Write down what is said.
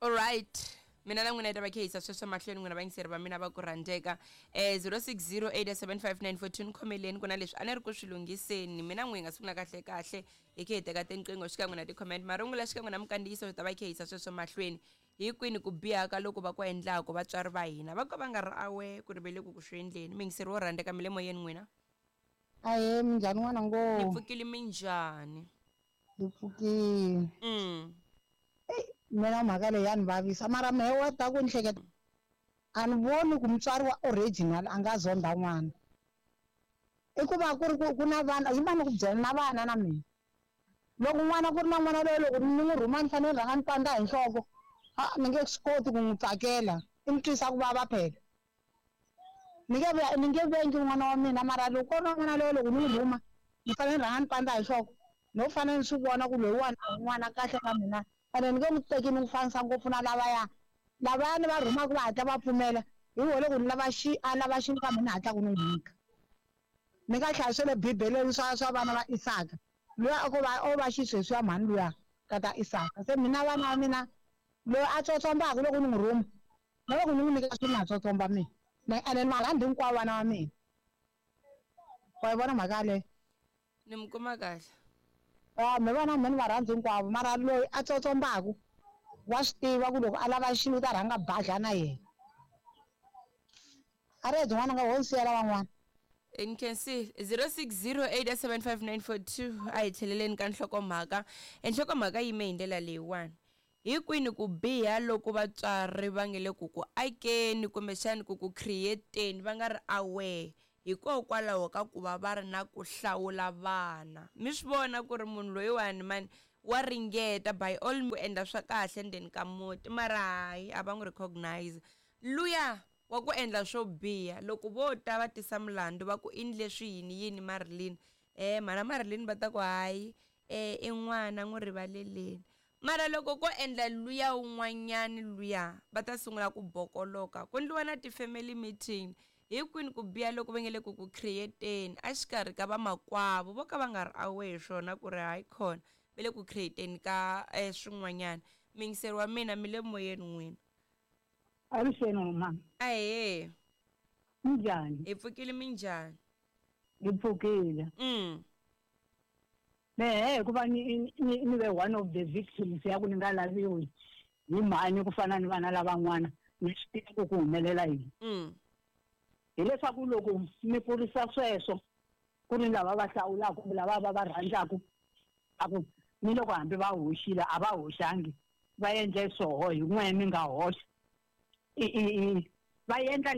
Alright, mina na n'wina yi ta va khehisa sweswo mahlweni, n'wina vayingiseri va mina va ku rhandzeka. 06087594 ni khomeleni, ku na leswi a ni ri ku swi lunghiseni. Mina n'wi hi nga sungula kahle kahle hi khe hi teka tinqingho xikan'we na ti-comment, marungula xikan'we na minkandziyiso, swi ta va khehisa sweswo mahlweni. Hi kwini ku biha ka loko va ku endlaku vatswari va hina va ka va nga ri awe ku ri ve le ku ku swi endleni? Muyingiseri wo rhandzeka, mi le moyeni n'wina. Ahee, minjhani n'wana ngo? Ni pfukile, minjhani? Hi pfukile. Eyi, mina mhaka leyi ya ni vavisa, mara mehe wa ta ku ni hleketa a ni voni ku mutswari wa original a nga zonda n'wana. I ku va ku ri ku ku na vana yi va ni ku byela na vana na mina. Loko n'wana ku ri na n'wana loyi loko ni n'wi rhuma ni fanele ni rhanga ni pandza hi nhloko, a ni nge swi koti ku n'wi tsakela, i ni twisa ku vava phela. Ni nge ni nge vengi n'wana wa mina, mara loko ku ri na n'wana loyi loko ni n'wi rhuma ni fanele ni rhanga ni pandza hi nhloko, no fanele ni swi vona ku loyiwani a hi n'wana kahle ka mina, ene ni nge n'wi teki ni n'wi fanisa ngopfu na lavaya. Lavaya ni va rhumaka va hatla va pfumela, hi voho loko ni lava xi a lava xilo ka mina ni hatlaka ni n'wi nyika. Ni nga hlaya swa le Bibeleni swa vana va Isaka, luya a ko va o va xisweswiya mhani luya tata Isaka. Se mina vana va mina loyi a tsotsombaka loko ni n'wi rhuma, na loko ni n'wi nyika swilo na tsotsomba mina, ene ni va rhandza hinkwavo vana va mina. Wa yi vona mhaka yaleyo? Ni mi kuma kahle. Ya, me vana me ni va rhandza hinkwavo, mara loyi a tsotsombaka wa swi tiva ku loko a lava xilo u ta rhanga badla na yena. A ri byin'wana nga ho ni siyela van'wana. Ni khensile. 06087594 a hi tlheleleni ka nhlokomhaka. Nhlokomhaka yi yime hi ndlela leyiwani. Hi kwini ku biha loku vatswari va nge le ku ku akeni kumbexani ku ku create-eni va nga ri aware hikokwalaho ka ku va va ri na ku hlawula vana? Mi swi vona ku ri munhu loyiwani mani wa ringeta by all ku endla swa kahle ndzeni ka muti, mara hayi a va n'wi recognize. Luya wa ku endla swo biha, loko vo ta va tisa mulandzu va ku i ndle swi yini yini Marilyn, mhana Marilyn va ta ku hayi i n'wana n'wi rivaleleni. Mara loko ko endla luya wun'wanyani luya va ta sungula ku bokoloka, ku ndliwa na ti-family meeting. Hi kwini ku biha loko va nge le ku ku create-eni exikarhi ka vamakwavo vo ka va nga ri aware hi swona ku ri hayi khona va le ku create-eni ka swin'wanyana. Muyingiseri wa mina, mi le moyeni n'wina. Avuxeni mama. Ahee. Minjhani? Hi pfukile, minjhani? Hi pfukile. Mehe hikuva ni ni ni ve one of the victims ya ku ni nga laviwi hi mhani ku fana ni vana lavan'wana, ni swi tiva ku ku humelela yini. Hileswaku loko mi kurisa sweswo ku ri lava va hlawulaka kumbe lava va va rhandzaka, a ku ni loko hambi va hoxile a va hoxangi, va endle swoho hi n'we mi nga hoxa, i i i va endla.